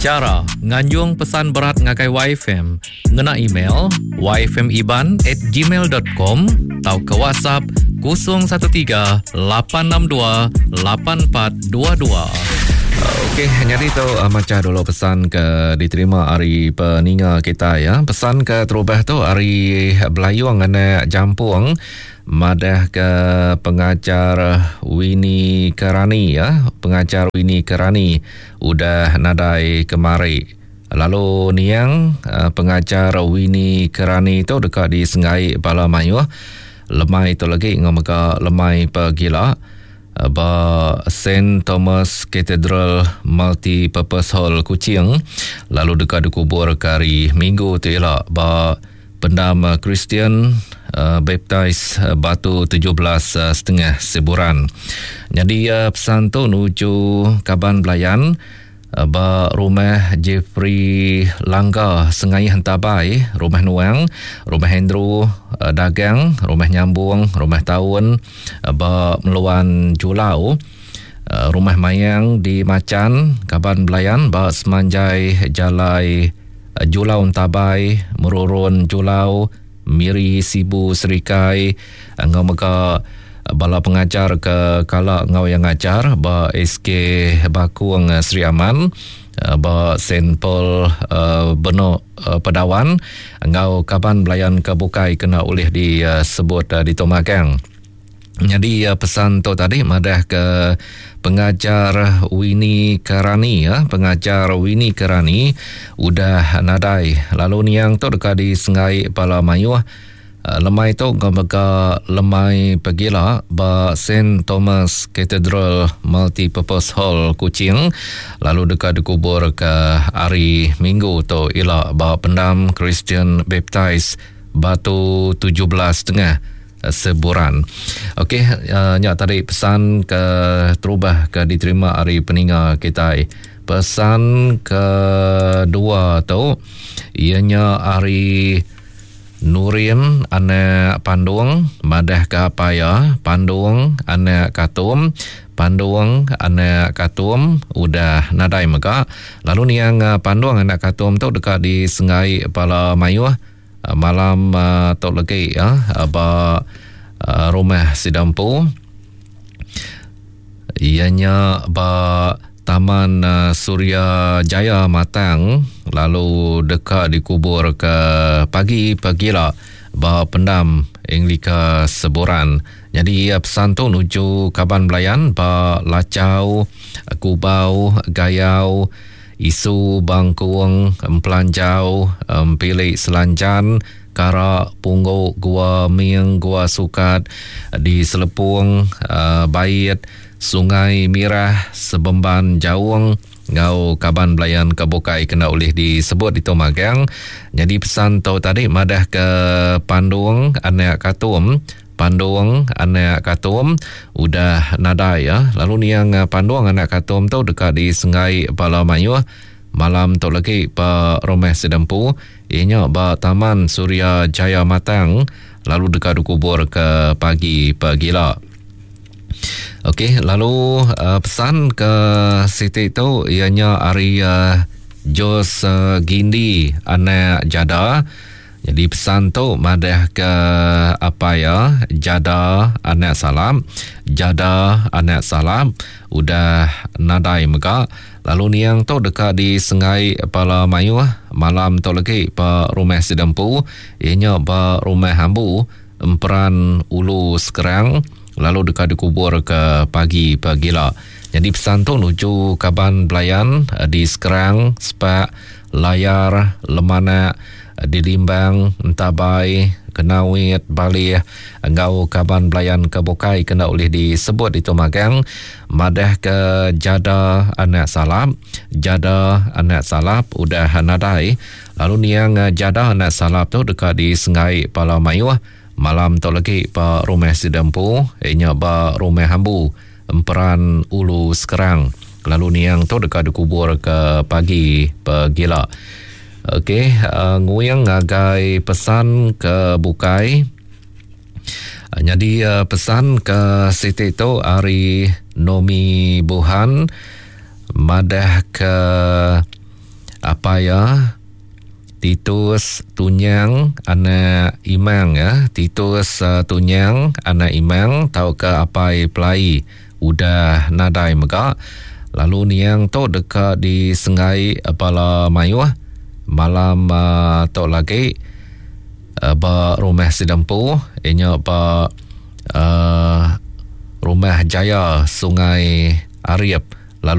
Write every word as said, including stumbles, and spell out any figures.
Chara nganjung pesan berat ngagai Y F M ngena email y f m iban at gmail dot com tauka WhatsApp kosong satu tiga lapan enam dua lapan empat dua dua. Okey, jadi tu uh, macam dulu pesan ke diterima hari peninga kita ya. Pesan ke terubah tu hari Belayung anak Jampung madah ke pengajar Winnie Kerani ya, pengajar Winnie Kerani udah nadai kemari. Lalu niang uh, pengajar Winnie Kerani tu dekat di Sengai Bala Mayuh. Lemai tu lagi ngomega lemai pegila ba Saint Thomas Cathedral Multi-Purpose Hall Kuching, lalu dekat dikubur ke hari Minggu tu ialah ba Pendam Kristian uh, Baptist uh, Batu tujuh belas uh, setengah Siburan. Jadi uh, pesan tu nuju kaban belayan uh, ba rumah Jeffrey Langga Sengai Hentabai, rumah Nuang, rumah Andrew uh, Dagang, rumah Nyambung, rumah Taun uh, ba Meluan Julau, uh, rumah Mayang di Macan, kaban belayan ba Semanjai Jalai uh, Julau Entabai, Merurun Julau, Miri Sibu Serikai, ngau mega bala pengajar ke kala ngau yang ngajar ba S K Bakung Sri Aman, ba Saint Paul uh, Benok uh, Pedawan, ngau kaban belayan ke bukai kena oleh disebut uh, di Tomagang. Jadi uh, pesan tu tadi madah ke pengajar Winnie Kerani ya, pengajar Winnie Kerani udah nadai. Lalu niang tu dekat di Sengai Pala Mayuh. Uh, lemai tu mega lemai pegila ba Saint Thomas Cathedral Multi-Purpose Hall Kuching, lalu dekat dikubur ke hari Minggu tu ila ba Pendam Christian Baptist Batu tujuh belas setengah Seburan. Okey, uh, nyak tadi pesan ke terubah ke diterima hari peninga kita. Pesan kedua tu ianya hari Nurin anak Pandung madah ke apa ya, Pandung anak Katum, Pandung anak Katum udah nadai mega. Lalu niang Pandung anak Katum tu dekat di Sengai Pala Mayuh malam uh, tok legi ya ba uh, rumah Sidampu. Ianya ba Taman uh, Surya Jaya Matang, lalu dekat dikubur ke pagi pagila ba Pendam Anglika Seburan. Jadi pesan tu nuju kaban belayan ba Lacau, Kubau, Gayau, Isu Bangkuang, Empelanjau, Empilik Selanjan, Karak, Pungguk, Gua Ming, Gua Sukat, di Selepung, uh, Bait, Sungai Mirah, Sebemban Jaung, ngau kaban belayan kebukai kena oleh disebut di Tomagang. Jadi pesan tu tadi madah ke Pandung anak Katum, Pandung anak Katum udah nadai ya. Lalu niang Pandung anak Katum tu dekat di Sengai Pala Mayuh malam tu lagi ba rumah Sedempu, ianya ba Taman Surya Jaya Matang, lalu dekat dikubur ke pagi pagila. Okey, lalu uh, pesan ke Siti tu ianya hari uh, Jos uh, Gindi anak Jada. Jadi pesan tu madah ke apa ya, Jada anak Salam, Jada anak Salam udah nadai mega. Lalu niang tu dekat di Sengai Pala Mayuh malam tu lagi ba rumah Sidempu, ianya ba rumah Hambu Emperan Ulu Sekerang, lalu dekat dikubur ke pagi pagila. Jadi pesan tu nuju kaban belayan di Sekerang, Sepak, Layar, Lemanak, di Limbang, Entabai, Kenawit, Balih, engau kaban belayan ke Bukai kena oleh disebut itu magang. Madah ke Jada anak Salap, Jada anak Salap udah nadai. Lalu niang Jada anak Salap tu dekat di Sengai Pala Mayuh malam tu lagi ba rumah Sidempu, ianya ba rumah Hambu Emperan Ulu Sekerang. Lalu niang tu dekat dikubur ke pagi pegila. Okey, uh, nguyang ngagai pesan ke Bukai. Uh, jadi uh, pesan ke Siti tu hari Nomi Buhan madah ke Apai ya Titus Tunyang anak Imang ya, Titus uh, Tunyang anak Imang tauka apai Pelai udah nadai mega. Lalu niang tu deka disenggai bala mayuh malam uh, tu lagi uh, ba rumah Sidempu inya ba uh, Rumah Jaya Sungai Ariep lalu